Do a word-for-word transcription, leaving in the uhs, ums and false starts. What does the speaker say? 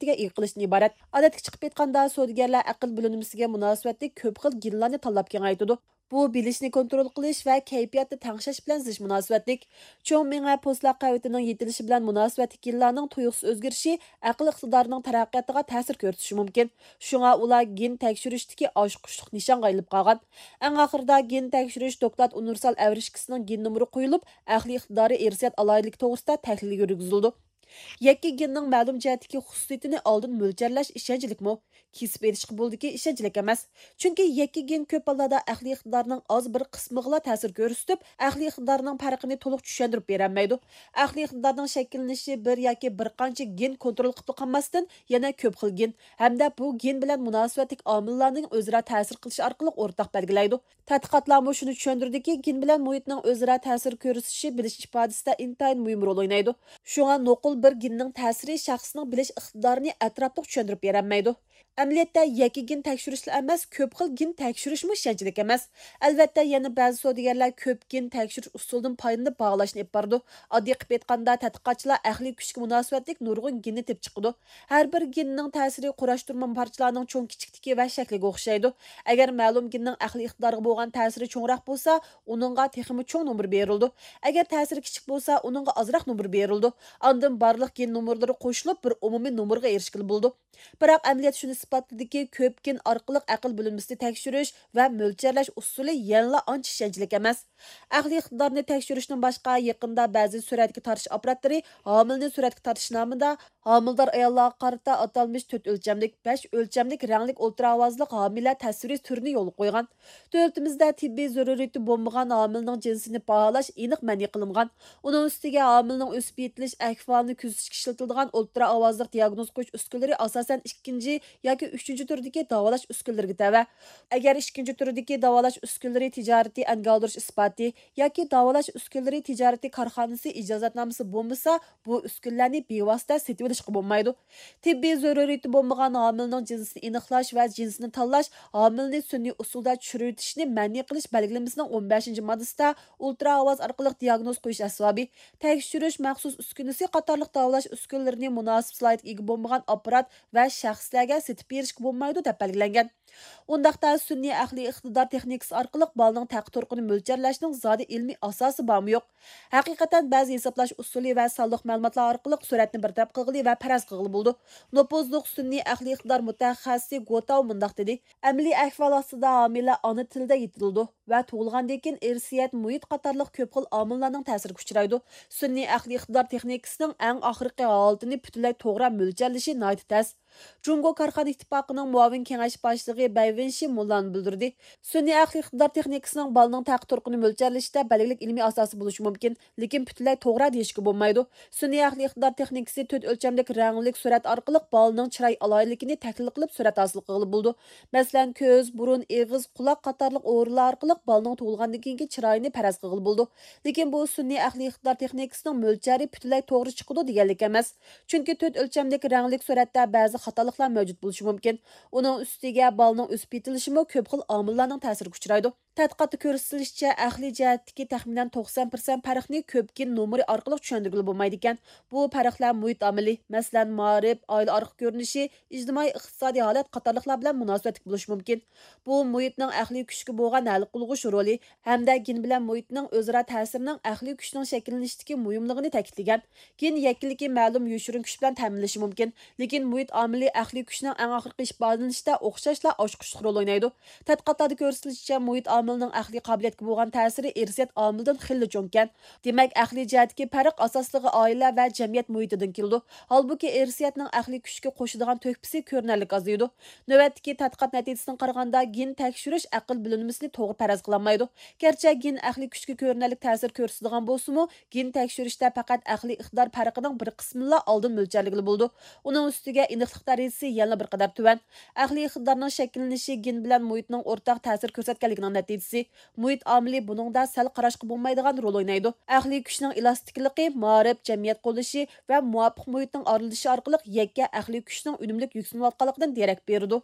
مۇناسىۋىتىگە ئىگە قىلىشتىن ئىبارەت. ئادەتتىكى چىقىپ ئېيتقاندا، سودىگەرلەر ئەقىل بۆلۈنمىسىگە مۇناسىۋەتلىك كۆپ خىل گېنلارنى تاللاپ كېڭەيتىدۇ. بۇ بىلىشنى كونترول قىلىش ۋە كەيپىياتنى تەڭشەش بىلەن زىچ مۇناسىۋەتلىك. چوڭ مېڭە پوستلاق قەۋىتىنىڭ يېتىلىشى بىلەن مۇناسىۋەتلىك گېنلارنىڭ تۇيۇقسىز ئۆزگىرىشى ئەقىل ئىقتىدارىنىڭ تەرەققىياتىغا تەسىر كۆرسىتىشى مۇمكىن. شۇڭا ئۇلار گېن تەكشۈرۈشتىكى ئاچقۇچلۇق نىشانغا ئايلىنىپ قالغان. ئەڭ ئاخىرىدا گېن تەكشۈرۈش دوكلات ئۇنىۋېرسال ئەۋرىشكىسىنىڭ گېن نومۇرى قويۇلۇپ، ئەقلىي ئىقتىدارى ئىرسىيەت ئالاھىدىلىكى توغرىسىدا تەھلىل يۈرگۈزۈلىدۇ. يەككە گېننىڭ مەلۇم جەھەتتىكى خۇسۇسىيىتىنى ئالدىن مۆلچەرلەش ئىشەنچلىكمۇ؟ كېسىپ ئېيتىشقا بولىدۇكى، ئىشەنچلىك ئەمەس. چۈنكى يەككە گېن كۆپ ھاللاردا ئەقلىي ئىقتىدارنىڭ ئاز بىر قىسمىغىلا تەسىر كۆرسىتىپ، ئەقلىي ئىقتىدارنىڭ پەرقىنى تولۇق چۈشەندۈرۈپ بېرەلمەيدۇ. ئەقلىي ئىقتىدارنىڭ شەكىللىنىشى بىر ياكى بىر قانچە گېن كونترول قىلىپ قالماستىن، يەنە كۆپ خىل گېن ھەمدە بۇ گېن بىلەن مۇناسىۋەتلىك ئامىللارنىڭ ئۆزئارا تەسىر قىلىشى ئارقىلىق ئورتاق بەلگىلەيدۇ. تەتقىقاتلارمۇ شۇنى چۈشەندۈردىكى، گېن بىلەن مۇھىتنىڭ ئۆزئارا تەسىر كۆرسىتىشى بىلىش ئىپادىسىدە ئىنتايىن مۇھىم رول ئوينايدۇ. شۇڭا نوقۇل بىر گېننىڭ تەسىرى شەخسنىڭ بىلىش ئىقتىدارىنى ئەتراپلىق چۈشەندۈرۈپ بېرەلمەيدۇ. ئەمەلىيەتتە يەككە گېن تەكشۈرۈشلا ئەمەس، كۆپ خىل گېن تەكشۈرۈشمۇ ئىشەنچلىك ئەمەس. ئەلۋەتتە، يەنە بەزى سودىگەرلەر كۆپ گېن تەكشۈرۈش ئۇسۇلىدىن پايدىلىنىپ باھالاش ئېلىپ بارىدۇ. ئاددىي قىلىپ ئېيتقاندا، تەتقىقاتچىلار ئەقلىي كۈچكە مۇناسىۋەتلىك نۇرغۇن گېننى تېپىپ چىقىدۇ. ھەر بىر گېننىڭ تەسىرى قۇراشتۇرما پارچىلارنىڭ چوڭ كىچىكلىكى ۋە شەكلىگە ئوخشايدۇ. ئەگەر مەلۇم گېننىڭ ئەقلىي ئىقتىدارغا بولغان تەسىرى چوڭراق بولسا، ئۇنىڭغا تېخىمۇ چوڭ نومۇر بېرىلىدۇ. ئەگەر تەسىرى كىچىك بولسا، ئۇنىڭغا ئازراق نومۇر بېرىلىدۇ. ئاندىن بارلىق گېن نومۇرلىرى قوشۇلۇپ، بىر ئومۇمىي نومۇرغا ئېرىشكىلى بولىدۇ. بىراق، ئەمەلىيەت شۇنى ئىسپاتلىدىكى، كۆپ گېن ئارقىلىق ئەقىل بۆلۈنمىسىنى تەكشۈرۈش ۋە مۆلچەرلەش ئۇسۇلى يەنىلا ئانچە ئىشەنچلىك ئەمەس. ئەقلىي ئىقتىدارنى تەكشۈرۈشتىن باشقا، يېقىندا بەزى سۈرەتكە تارتىش ئاپپاراتلىرى ھامىلىنى سۈرەتكە تارتىش نامىدا ھامىلىدار ئاياللارغا قارىتا ئاتالمىش تۆت ئۆلچەملىك، بەش ئۆلچەملىك رەڭلىك ئولترا ئاۋازلىق ھامىلە تەسۋىرى تۈرىنى يولغا قويغان. دۆلىتىمىزدە تېببىي زۆرۈرىيىتى بولمىغان ھامىلىنىڭ جىنسىنى باھالاش ئېنىق مەنئى قىلىنغان. ئۇنىڭ ئۈستىگە ھامىلىنىڭ ئۆسۈپ يېتىلىش ئەھۋالىنى كۆزىتىشكە ئىشلىتىلىدىغان ئولترا ئاۋازلىق دىياگنوز قويۇش ئۈسكۈنىلىرى ئاساسەن ئىككىنچى ياكى ئۈچىنچى تۈردىكى داۋالاش ئۈسكۈنىلىرىگە تەۋە. ئەگەر ئىككىنچى تۈردىكى داۋالاش ئۈسكۈنىلىرى تىجارىتى ئەنگە ئالدۇرۇش ئىسپاتى ياكى داۋالاش ئۈسكۈنىلىرى تىجارىتى كارخانىسى ئىجازەتنامىسى بولمىسا، بۇ ئۈسكۈنىلەرنى بىۋاسىتە سېتىۋېلىشقا بولمايدۇ. تېببىي زۆرۈرىيىتى بولمىغان ھامىلىنىڭ جىنسىنى ئېنىقلاش ۋە جىنسىنى تاللاش، ھامىلىنى سۈنئىي ئۇسۇلدا چۈشۈرۈۋېتىشنى مەنئى قىلىش بەلگىلىمىسىنىڭ ئون بەشىنچى ماددىسىدا ئولترا ئاۋاز ئارقىلىق دىياگنوز قويۇش ئەسۋابى، تەكشۈرۈش مەخسۇس ئۈسكۈنىسى قاتارلىق داۋالاش ئۈسكۈنىلىرىنى مۇناسىپ سالاھىيەتكە ئىگە بولمىغان ئاپپارات ۋە شەخسلەرگە سېتىپ بېرىشكە بولمايدۇ، دەپ بەلگىلەنگەن. ئۇنداقتا سۈنئىي ئەقلىي ئىقتىدار تېخنىكىسى ئارقىلىق بالىنىڭ تەقى تۇرقىنى مۆلچەرلەشنىڭ زادى ئىلمىي ئاساسى بارمۇ يوق؟ ھەقىقەتەن بەزى ھېسابلاش ئۇسۇلى ۋە سانلىق مەلۇماتلار ئارقىلىق سۈرەتنى بىر تەرەپ قىلغىلى ۋە پەرەز قىلغىلى بولىدۇ. نوپۇزلۇق سۈنئىي ئەقلىي ئىقتىدار مۇتەخەسسىسى گوتاۋ مۇنداق دېدى، ئەمەلىي ئەھۋال ئاستىدا ھامىلە ئانا تىلىدا يېتىلىدۇ ۋە تۇغۇلغاندىن كېيىن ئىرسىيەت، مۇھىت قاتارلىق كۆپ خىل ئامىللارنىڭ تەسىرىگە ئۇچرايدۇ. سۈنئىي ئەقلىي ئىقتىدار تېخنىكىسىنىڭ ئەڭ ئاخىرقى ھالىتىنى پۈتۈنلەي توغرا مۆلچەرلىشى ناھايىتى تەس. جۇڭگو كارخانا ئىتتىپاقىنىڭ مۇئاۋىن كېڭەشچى باشلىقى بەي ۋېنشى مۇنۇلارنى بىلدۈردى، سۈنئىي ئەقلىي ئىقتىدار تېخنىكىسىنىڭ بالىنىڭ تەقى تۇرقىنى مۆلچەرلىشىشتە بەلگىلىك ئىلمىي ئاساسى بولۇشى مۇمكىن، لېكىن پۈتۈنلەي توغرا دېيىشكە بولمايدۇ. سۈنئىي ئەقلىي ئىقتىدار تېخنىكىسى تۆت ئۆلچەملىك رەڭلىك سۈرەت ئارقىلىق بالىنىڭ چىراي ئالاھىدىلىكىنى تەھلىل قىلىپ سۈرەت ھاسىل قىلغىلى بولىدۇ. مەسىلەن، كۆز، بۇرۇن، ئېغىز، قۇلاق قاتارلىق ئورۇنلار ئارقىلىق بالىنىڭ تۇغۇلغاندىن كېيىنكى چىرايىنى پەرەز قىلغىلى بولىدۇ. لېكىن بۇ سۈنئىي ئەقلىي ئىقتىدار تېخنىكىسىنىڭ مۆلچەرى پۈتۈنلەي توغرا چىقىدۇ دېگەنلىك ئەمەس. چۈنكى تۆت ئۆلچەملىك رەڭلىك سۈرەتتە بەزى خاتالىقلار مەۋجۇت بولۇشى مۇمكىن. ئۇنىڭ ئۈستىگە بالىنىڭ ئۆسۈپ يېتىلىشىمۇ كۆپ خىل ئامىللارنىڭ تەسىرىگە ئۇچرايدۇ. تەتقىقاتتا كۆرسىتىلىشىچە، ئەقلىي جەھەتتىكى تەخمىنەن توقسان پىرسەنت پەرقنى كۆپ گېن نومۇرى ئارقىلىق چۈشەندۈرگىلى بولمايدىكەن. بۇ پەرقلەر مۇھىت ئامىلى، مەسىلەن، مائارىپ، ئائىلە ئارقا كۆرۈنۈشى، ئىجتىمائىي ئىقتىسادىي ھالەت قاتارلىقلار بىلەن مۇناسىۋەتلىك بولۇشى مۇمكىن. بۇ مۇھىتنىڭ ئەقلىي كۈچكە بولغان ھەل قىلغۇچ رولى ھەمدە گېن بىلەن مۇھىتنىڭ ئۆزئارا تەسىرىنىڭ ئەقلىي كۈچنىڭ شەكىللىنىشىدىكى مۇھىملىقىنى تەكىتلىگەن. گېن يەككىلىكى مەلۇم يوشۇرۇن كۈچ بىلەن تەمىنلىشى مۇمكىن، لېكىن مۇھىت ئامىلى ئەقلىي كۈچنىڭ ئەڭ ئاخىرقى ئىپادىلىنىشىدە ئوخشاشلا ئاچقۇچلۇق رول ئوينايدۇ. تەتقىقاتلاردا كۆرسىتىلىشىچە، مۇھىت ئامىلىنىڭ ئەقلىي قابىلىيەتكە بولغان تەسىرى ئىرسىيەت ئامىلىدىن خېلىلا چوڭكەن. دېمەك، ئەقلىي جەھەتتىكى پەرق ئاساسلىقى ئائىلە ۋە جەمئىيەت مۇھىتىدىن كېلىدۇ. ھالبۇكى، ئىرسىيەتنىڭ ئەقلىي كۈچكە قوشىدىغان تۆھپىسى كۆرۈنەرلىك ئازىيىدۇ. نۆۋەتتىكى تەتقىقات نەتىجىسىگە قارىغاندا، گېن تەكشۈرۈش ئەقىل بۆلۈنمىسىنى توغرا پەرەز قىلالمايدۇ. گەرچە گېن ئەقلىي كۈچكە كۆرۈنەرلىك تەسىر كۆرسىتىدىغان بولسىمۇ، گېن تەكشۈرۈشتە پەقەت ئەقلىي ئىقتىدار پەرقىنىڭ بىر قىسمىنىلا ئالدىن مۆلچەرلىگىلى بولىدۇ. ئۇنىڭ ئۈستىگە ئېنىقلىق دەرىجىسى يەنىلا بىر قەدەر تۆۋەن. ئەقلىي ئىقتىدارنىڭ شەكىللىنىشى گېن بىلەن مۇھىتنىڭ ئورتاق تەسىر كۆرسەتكەنلىكىنىڭ نەتىجىسى. مۇھىت ئامىلى بۇنىڭدا سەل قاراشقا بولمايدىغان رول ئوينايدۇ. ئەقلىي كۈچنىڭ ئېلاستىكلىقى، مائارىپ، جەمئىيەت قوللىشى ۋە مۇۋاپىق مۇھىتنىڭ ئارىلىشىشى ئارقىلىق يەككە ئەقلىي كۈچنىڭ ئۈنۈملۈك يۈكسىلىۋاتقانلىقىدىن دېرەك بېرىدۇ.